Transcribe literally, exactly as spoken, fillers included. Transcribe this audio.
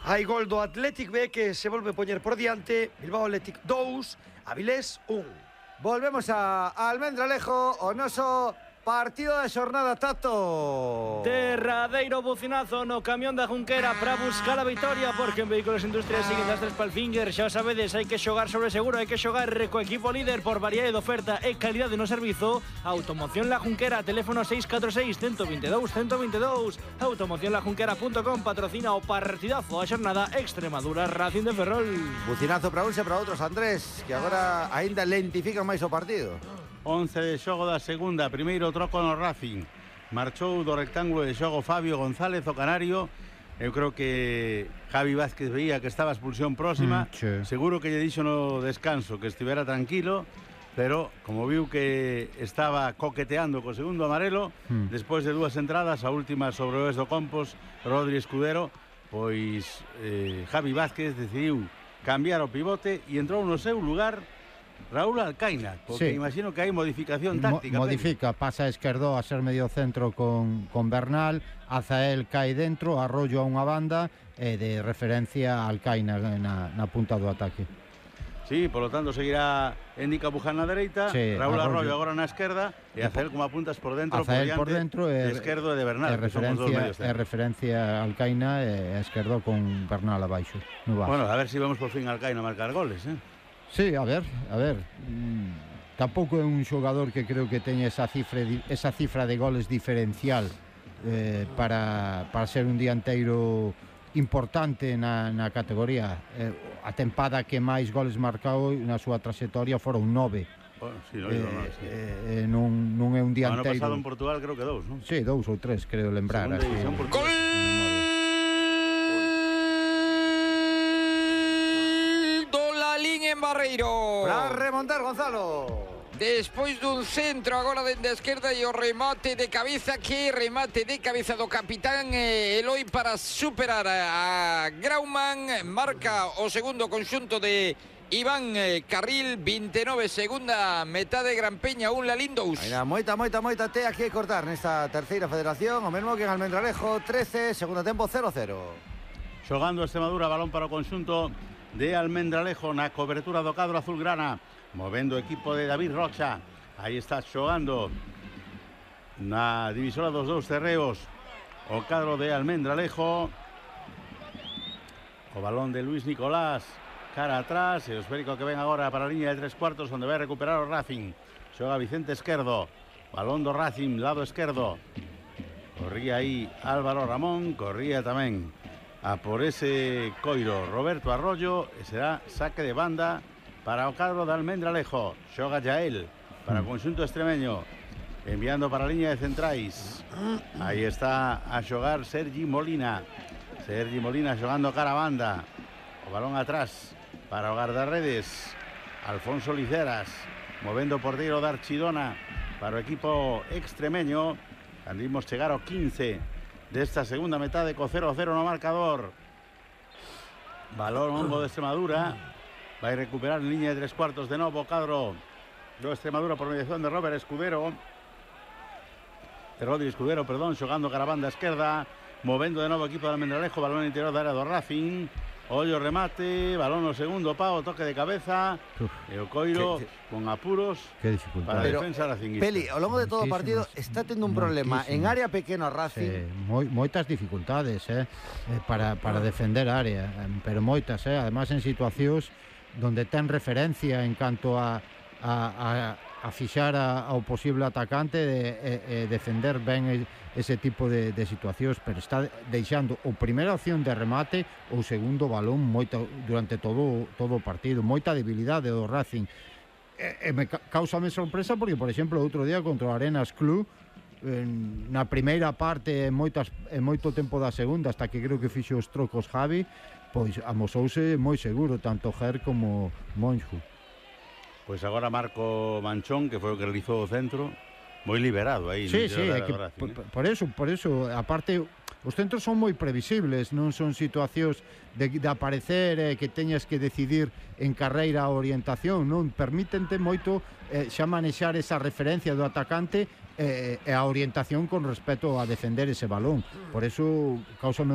Hai gol do Athletic B que se volve a poñer por diante. Bilbao Athletic dous, Avilés un. Volvemos a, a Almendralejo, o noso partido da xornada, Tato. Derradeiro bucinazo no camión da Junquera para buscar a vitória, porque en Vehículos Industriales siguen das tres palfinger. Xa sabedes, hai que xogar sobre seguro, hai que xogar co equipo líder por variedade de oferta e calidade no servizo. Automoción La Junquera, teléfono seis catro seis, uno dos dous, uno dos dous. automoción la junquera punto com patrocina o partidazo a xornada Extremadura Racing de Ferrol. Bucinazo para uns e para outros, Andrés, que agora aínda lentifican máis o partido. once de xogo da segunda, primeiro troco no Racing. Marchou do rectángulo de xogo Fabio González, o canario. Eu creo que Javi Vázquez veía que estaba a expulsión próxima. Mm, sí. Seguro que lle dixo no descanso que estivera tranquilo, pero como viu que estaba coqueteando co segundo amarelo, mm. despois de dúas entradas, a última sobre o Oes do Compos, Rodri Escudero, pois eh, Javi Vázquez decidiu cambiar o pivote e entrou no seu lugar Raúl Alcaina, porque sí. imagino que hai modificación táctica. Mo modifica, pero... pasa a esquerdo a ser medio centro con, con Bernal, Azael cae dentro, Arroyo a unha banda e de referencia a Alcaina na, na punta do ataque. Sí, por lo tanto seguirá Endica Buján na dereita, sí, Raúl Arroyo. Arroyo agora na esquerda e Azael como apuntas por dentro, Azael por, por dentro de esquerdo e de Bernal, e referencia, e referencia a Alcaina e a esquerdo con Bernal abaixo. Bueno, a ver se si vemos por fin a Alcaina a marcar goles, eh? Sí, a ver, a ver. Mm, tampouco é un xogador que creo que teña esa cifra, esa cifra de goles diferencial eh, para, para ser un dianteiro importante na, na categoría. Eh, a tempada que máis goles marcou na súa trayectoria foron nove. Bueno, sí, no, eh, no, sí. eh, non, non é un dianteiro. O ano pasado en Portugal creo que dous, non? Sí, dous ou tres, creo lembrar. Así, ¡Gol! En Barreiro para remontar, Gonzalo. Despois dun centro agora dende a esquerda e o remate de cabeza, que remate de cabeza do capitán eh, Eloi para superar a Grauman. Marca o segundo conxunto de Iván eh, Carril, vinte e nove, segunda metade, Gran Peña un, Lalín dous. Ainda moita, moita, moita tea que cortar nesta terceira federación, o mesmo que en Almendralejo, trece, segundo tempo cero cero. Xogando Extremadura, balón para o conxunto de Almendralejo na cobertura do cadro azulgrana, movendo o equipo de David Rocha. Aí está xogando na divisora dos dous terreos o cadro de Almendralejo. O balón de Luis Nicolás cara atrás e o esférico que ven agora para a liña de tres cuartos, onde vai recuperar o Racing. Xoga Vicente Esquerdo, balón do Racing, lado esquerdo. Corría aí Álvaro Ramón, corría tamén a por ese coiro Roberto Arroyo, e será saque de banda para o cadro de Almendralejo. Xoga Yael para o conxunto extremeño, enviando para a liña de centrais. Aí está a xogar Sergi Molina. Sergi Molina xogando cara a banda. O balón atrás para o guardarredes Alfonso Liceras, movendo o porteiro de Archidona para o equipo extremeño. Andimos chegar ao quince desta segunda metade co cero cero no marcador. Balón hongo de Extremadura, vai recuperar en liña de tres cuartos de novo o cadro do Extremadura por mediación de Robert Escudero, de Rodri Escudero, perdón, xogando cara a banda esquerda, movendo de novo o equipo de Almendralejo, balón interior da área do Racing. Ollo remate, balón no segundo pau, toque de cabeza. Uf, e o coiro que, que, con apuros para a defensa racinguista. Peli, ao longo de todo o partido está tendo un problema en área pequena Racing. Sí, moi, moitas dificultades eh, para, para defender a área, pero moitas, eh, además en situacións donde ten referencia en canto a, a, a, a fixar a, ao posible atacante de, e, e defender ben ese tipo de, de situacións, pero está deixando o primeira opción de remate ou segundo balón moita, durante todo, todo o partido, moita debilidade do Racing. E, e me causame sorpresa porque, por exemplo, outro día contra o Arenas Club, en, na primeira parte, en, moitas, en moito tempo da segunda, hasta que creo que fixo os trocos Javi, pois amosouse moi seguro, tanto Ger como Monju. Pois agora Marco Manchón, que foi o que realizou o centro, moi liberado aí. Sí, sí, é que Racing, por, por eso, por eso, aparte, os centros son moi previsibles, non son situacións de, de aparecer eh, que teñas que decidir en carreira a orientación, non permítente moito eh, xa manexar esa referencia do atacante eh, e a orientación con respecto a defender ese balón. Por eso, causame